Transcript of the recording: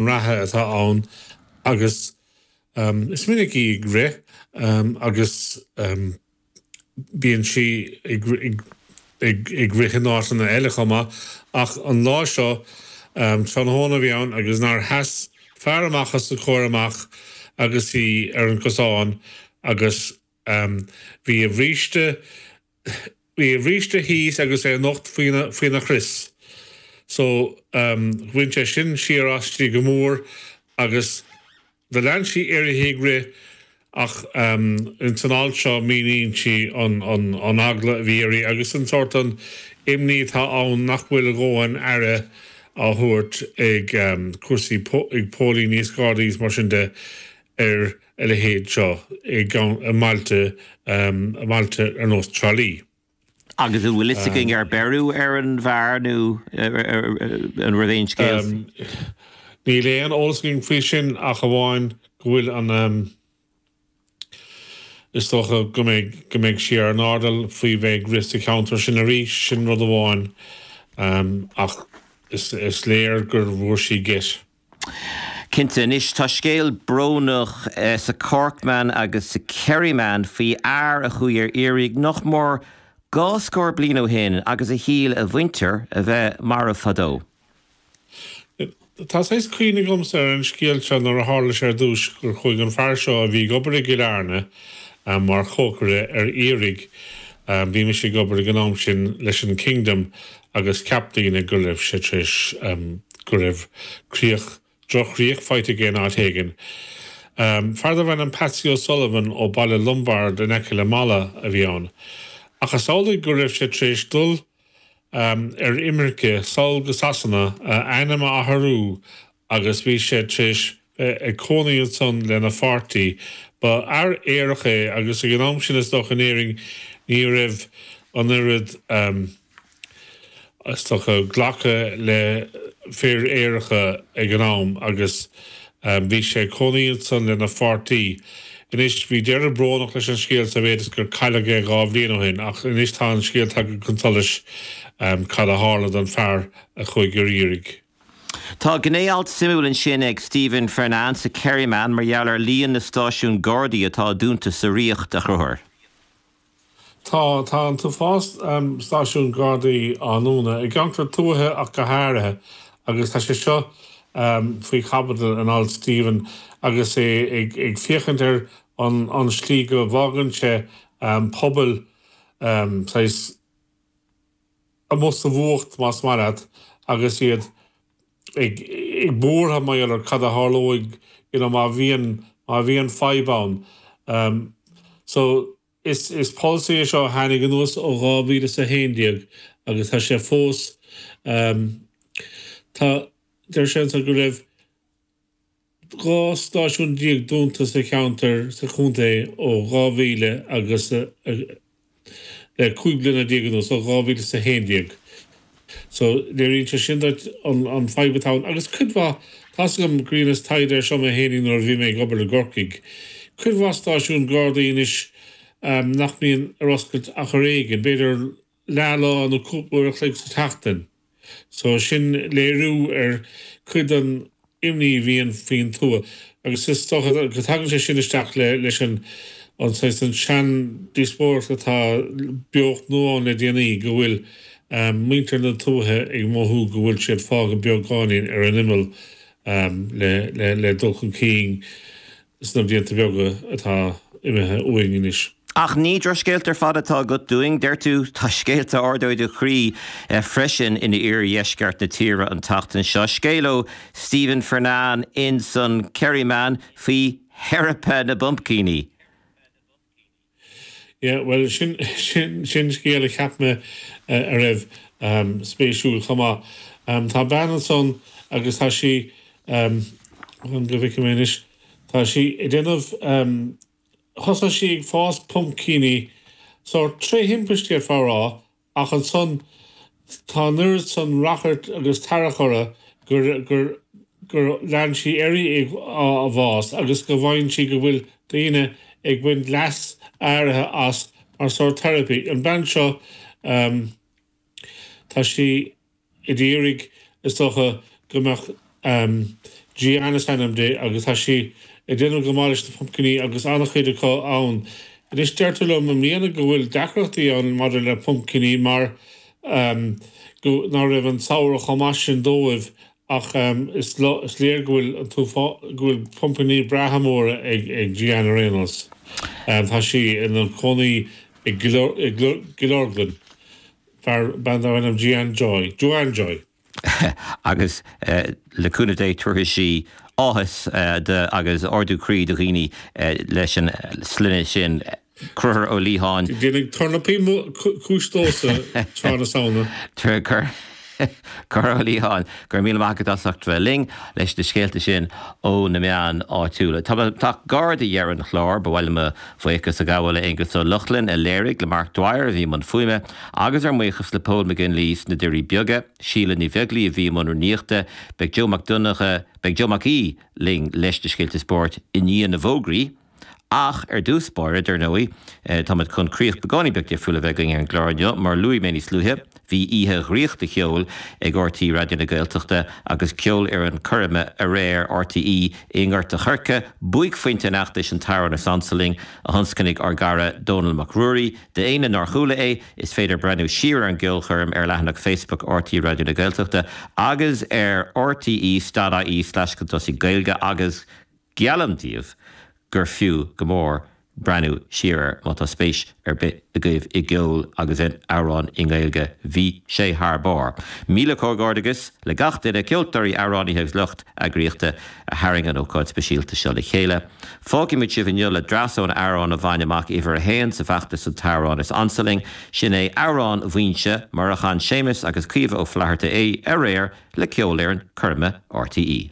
Reatha atá ann agus is minic í ag rith agus bíonn sí ag rith in áiteanna eile chomh maith ach an lá seo, tráthnóna a bhí ann agus nár sheas fear amach os a comhair amach agus í ar an gcosán agus bhí a bhríste Bhí a bhríste thíos agus é nocht faoina chrios. So, bhain sé sin siar aisti go mór agus do lean sí uirthi ag rith ach ins an alt seo míníonn sí an eagla a bhí uirthi agus an sórt an imní atá ann nach bhfuil a dhóthain aire á thabhairt ag cúrsaí, ag póilíní is gardaí is mar sin de ar a leithéid seo i mbailte i mbailte ar nós Trá Lí. Agus an bhfuil fhios againn ar beireadh ar an bhfear nó an raibh aon scéal? Níl aon eolas againn faoi sin ach amháin go bhfuil an is dócha go mbeidh go mbeidh sí ar an airdeall faoi bheith ag rith sa cheantar sin arís, sin rud amháin ach is léir gur bhfuair sí geit. Cinnte. Anois, tá scéal brónach sa Corkman agus sa Kerryman faoi fhear a chuaigh ar iarraidh nach mór dhá scór bliain ó shin agus a shíl a mhuintir a bheith marbh fadó. Tá saghas cuimhne agamsa ar an scéal seo nuair a tharla sé ar dtús gur chuaigh an fear seo a bhí ag obair i gCill Airne mar chócaire ar iarraidh. Bhí mise ag obair ag an am sin leis an Kingdom agus cheap daoine go raibh sé tar éis go raibh críoch, droch-chríoch faighte aige in áit éigin. Fear darbh ainm Patsy O'Sullivan ó Baile Lombard in aice le Mala a bhí ann. Ach is amhlaidh go raibh sé tar éis dul ar imirce sall go Sasana, a ainm a athrú agus bhí sé tar éis bheith ag cónaí ansan lena pháirtí. Ba fhear aerach é agus ag an am sin is dócha in Éirinn ní raibh an oiread is dócha glacadh le fir aeracha ag an am agus bhí sé ag cónaí ansan lena pháirtí. Anois bhí deireadh brónach leis an scéal sa mhéid is gur cailleadh é 2 bhliain ó shin ach anois tá an scéal tagtha chun solais cad a tharla don fear a chuaigh ar iarraidh. Tá gné-alt suimiúil ansin ag Stephen Fernane sa Kerryman mar gheall ar líon na stáisiún Gardaí atá dúnta sa Ríocht, a Chonchúir. Tá, tá an t-uafás stáisiún Gardaí á ndúnadh, i gceantair tuaithe ach go háirithe, agus tá sé seo faoi chaibidil in alt Stephen agus é ag féachaint ar an slí go bhfágann sé pobail saghas amuigh sa bhfuacht, más maith leat, agus iad ag buartha mar gheall ar cad a tharlóidh you know má bhíonn, má bhíonn fadhb ann. So, is, is polasaí é seo a tháinig anuas ó 2011 agus tá sé fós, tá, deir sé anseo go raibh 12 stáisiún dúnta sa cheantar sa chontae ó 2000 agus le 15 bliana anuas, ó 2011. So, léiríonn sé sin duit an fadhb atá ann. Agus cuid mhaith, tá's agam gur dheineas taighde ar seo mé fhéinig nuair a bhí mé ag obair i gCorcaigh, cuid mhaith stáisiún Gardaí anois nach mbíonn ar oscailt ach ar éigean, b'fhéidir leath lá nó cúpla uair a chloig sa tseachtain. So sin léiriú ar cuid den imní a bhíonn faoin tuath. Agus is dócha go dtagann sé sin isteach leis an an saghas an sean-díospóireacht atá beocht nua ann le déanaí go bhfuil muintir na tuaithe ag mothú go bhfuil siad fágtha beagáinín ar an imeall le le dul chun cinn sna blianta beaga atá imithe uainn anois. Ach ní drochscéalta ar fad atá agat dúinn, deir tú. Tá scéalta a ardóidh do chroí freisin in iardheisceart na tíre an tseachtain seo. Scéal ó Stephen Fernane ins an Kerryman faoi theiripe na bpumpcíní. Yeah, bhuel, sin, sin, sin scéal a cheap mé a raibh spéisiúil chomh maith. Tá bean ansan agus tá sí, fan go bhfeicfidh mé anois, tá sí ag déanamh, thosaigh sí ag fás pumpcíní sórt tré thimpiste d'fhéadfá a rá Ach ansan tá an oiread san rachairt agus tarrac orthu gur, gur, gur lean sí uirthi ag, á, bhfás agus go bhfaigheann sí go bhfuil daoine ag baint leas áirithe as mar sórt therapy. An bean seo, tá sí ag iarraidh, is dócha, go mbeadh. Jeanne is ainm di agus tá sí ag déanamh go maith leis na pumpciní agus an-chuid acu ann. Anois deirtear liom i mbliana go bhfuil deacrachtaí ann maidir le pumpciní mar go ná raibh an samhradh chomh maith sin dóibh ach is léir go bhfuil an go bhfuil pumpciní breátha móra ag Jeanne ar aon nós. Tá sí ina cónaí i gCill Orglan, fear, bean darb ainm Jeanne Joy, Joanne Joy. agus le cúnamh Dé tabharfaidh sí áthas agus ardú croí do dhaoine leis an sloinne sin, Conchúr Ó Liatháin. Déanfaidh tornapaí cúis domhsa tráth na Samhna. Conchúr Ó Liatháin, go raibh míle maith agat as ucht bheith linn leis na scéalta sin ó na meáin áitiúla. Tá muid ag teacht gar do dheireadh an chláir. Ba mhaith liom mo bhuíochas a ghabháil le Aengus Ó Lochlainn a léirigh, le Mark Dwyer a bhí i mbun fuaime, Agus ár mbuíochas le Pól McGinley sna Doirí Beaga, Síle Ní Bheaglaoi a bhí i mbun rúnaíochta, beidh Joe Mac Donncha, beidh Joe Mac Aoidh linn leis na scéalta spóirt i ndiaidh na bhfógraí. Ach ar dtús báire, dar ndóigh, táimid chun críoch beagáinín beag difriúil a bheith againn ar an gclár inniu. Mar a luaigh mé níos luaithe, bhí oíche dhraíochta cheoil ag RTÉ Raidió na Gaeltachta agus ceolfhoireann coirme aréir RTÉ i nGort a' Choirce, buaicphointe an fheachtais An tAmhrán Is Ansa Linn, a thionscnaigh ár gcara Dónall Mac Ruairí. D'éinne nár chuala é, is féidir breathnú siar ar an gceolchoirm ar leathanach Facebook RTÉ Raidió na Gaeltachta agus ar rte stad ie slash chun tosaigh Gaeilge agus geallaim daoibh gur fiú go mór breathnú siar air má tá spéis ar bith agaibh i gceol agus in amhráin i nGaeilge. Bhí sé thar barr. Míle comhghairdeachas le gach duine, ceoltóirí, amhránaithe agus lucht eagraíochta a tharraing an ócáid speisialta seo le chéile. Fágfaimid sibh inniu le dreas ón amhrán a bhain amach uimhir a haon sa bhfeachtas An tAmhrán is Ansa Linn. Sin é Amhrán Mhaínse, mar a chan Séamus agus Caoimhe Ó Flatharta é aréir le Ceolfhoireann Coirme RTÉ.